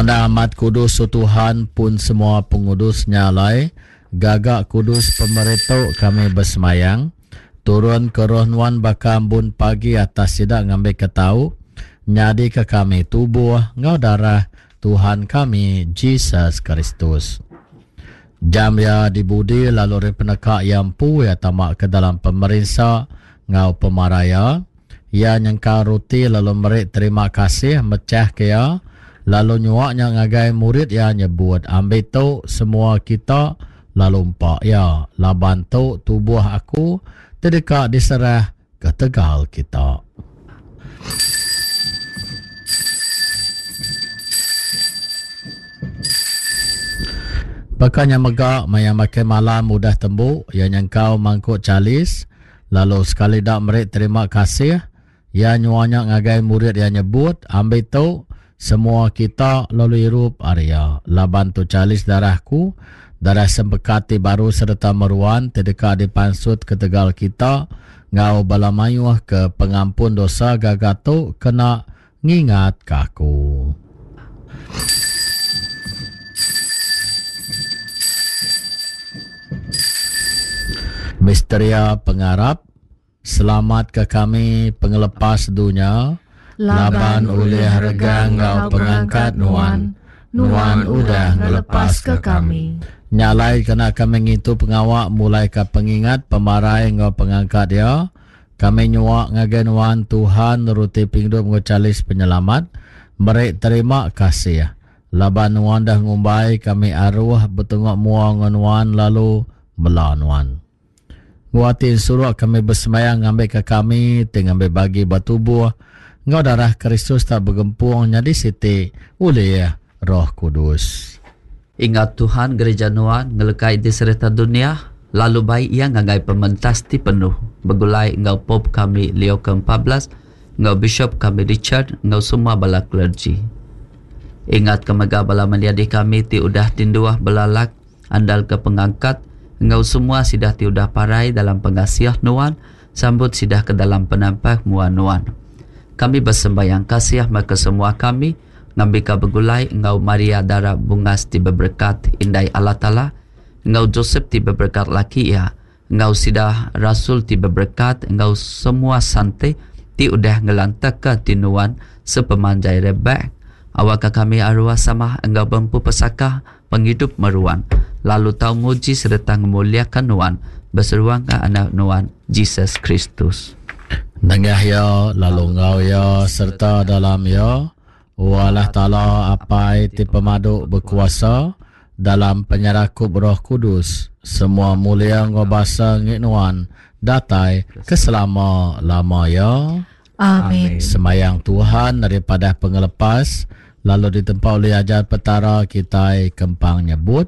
Nuan endang amat kudus, O Tuhan, pun semua pengudus nya alai, gaga kudus pemeri tu kami besemayang. Turun ke roh Nuan baka ambun pagi atas sida ngambika tau nyadika kami tubuh enggau darah Tuhan kami Jesus Kristus. Jam iya dibudi lalu ari peneka iya empu iya tama ke dalam pemerinsa enggau pemarai iya. Iya nyengkau roti lalu meri terima kasih mechahka iya lalu nyua nya ngagai murid iya nyebut, Ambi tu semua kita lalu empa iya, laban tu tubuh aku ti deka diserah ketegal kita. Baka nya mega maya makai malam udah tembu, iya nyengkau mangkuk chalis lalu sekali da meri terima kasih, iya nyua nya ngagai murid iya nyebut, Ambi tu, semua kita lalu irup ari iya, laban tu chalis darah aku, darah sempekat ti baru sereta meruan ti deka dipansut ketegal kita enggau bala mayuh ke pengampun dosa gaga tu kena ngingatka aku. Misteria Pengarap, Selamatka kami pengelepas dunya, laban ulih regang enggau pengangkat Nuan, Nuan udah ngelepaska kami. Nya alai kena kami ngintu pengawa mulaika pengingat pemarai enggau pengangkat Iya, kami nyua ngagai Nuan, Tuhan, ruti pengidup enggau chalis penyelamat, meri terima kasih, laban Nuan dah ngumbai kami aruh betunga mua enggau Nuan lalu mela Nuan. Enggau ati ensuruk kami besembahyang ngambika kami ti ngambi bagi ba tubuh enggau darah Kristus tau begempung nyadi siti ulih Roh Kudus. Ingat Tuhan gereja Nuan ngelekai di sereta dunya, lalu bai iya ngagai pementas ti penuh, begulai enggau Pope kami Leo ke 14, enggau Bishop kami Richard, enggau semua bala clergy. Ingatka mega bala menyadi kami ti udah tinduh belalak, Andalka pengangkat enggau semua sida ti udah parai dalam pengasih Nuan, sambut sida ke dalam penampak mua Nuan. Kami besembayang kasih meh ke semua kami, ngambika begulai enggau Maria Dara Bungas ti beberekat, Indai Allah Taala, enggau Josep ti beberekat laki iya, enggau sida rasul ti beberekat enggau semua sante ti udah ngelantaka ti nuan sepemanjai rebak, awakka kami arwah sama enggau bempu pesaka pengidup meruan, lalu tau muji sereta ngemuliaka nuan beseruangka Anak nuan, Jesus Kristus. Nengah Iya, lalu enggau Iya, sereta dalam Iya, O Allah Taala Apai ti Pemadu Bekuasa, dalam penyerakup Roh Kudus, semua mulia enggau basa enggi Nuan datai ke selama-lama iya. Amin. Sembayang Tuhan ari padah pengelepas, lalu ditempa ulih ajar Petara kitai kempang nyebut.